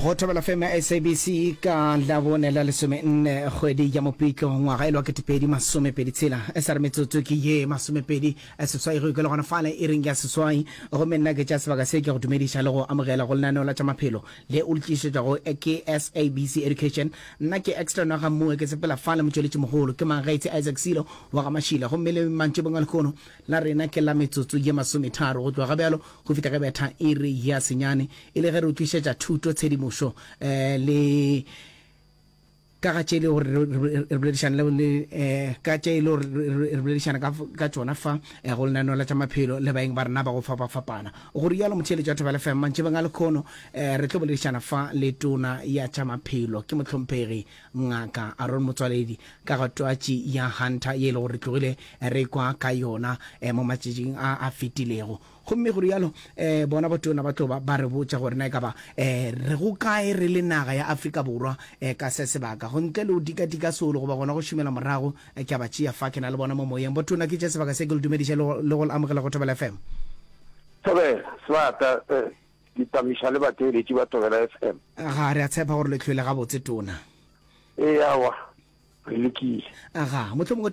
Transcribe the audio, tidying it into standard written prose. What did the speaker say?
Go thobela feme ya SABC ka Labone la lesomenne kgwedi ya Mopitlo ngwaga e le wa 2026. E sa re metsotso ke ye masomepedi seswai go ikela gona fale iring ya seswai. Gomme nna ke tša sebaka se ke go dumediša le go amogela go lenaneo la tša maphelo le o le tlišetšwago ke SABC Education. Nna ke Extra Nwaga Mmue ke sepela fale motšweletši mogolo ke Mangaitse Isaac Silo wa ga Mašila. Gomme le mantšibong a lehono la rena ke la metsotso ye masometharo go tloga gabjalo go fihla ge betha iri ya senyane E le ge re o tlišetša thuto, tshedimošo le ka ga tše e le gore re boledišana le le ka tše e le gore re boledišana ka ka tšona fa go lenaneo la tša maphelo le baeng ba rena ba go fapafapana. Go rialo motheeletši wa Thobela FM mantšibeng a lekhono re tlo boledišana fa le tona ya tša maphelo ke mohlomphegi Ngaka Aaron Motsoaledi ka ga twatši ya Hunter ye e le gore re tlogile re kwa ka yona mo matšatšing a a fetilego. Gomme go rialo, eh, bona botona ba tlo ba ba re botša gore na e ka ba, eh, re go kae re le naga ya Afrika Borwa, eh, ka se sebaka. Go ntle le go dikadika solo goba gona go šomela morago, eh, ke a ba tšea fa, ke na le bona mo moyeng. Botona, ke tše sebaka se ke le dumediše le go, le go le amogela go Thobela FM. Thobela, Sebata, eh, ditamiša le batheeletši ba Thobela FM. Aga, re a tshepa gore le hlwele gabotse, Tona. Ee, aowa, re lekile. Aga, mohlomongwe.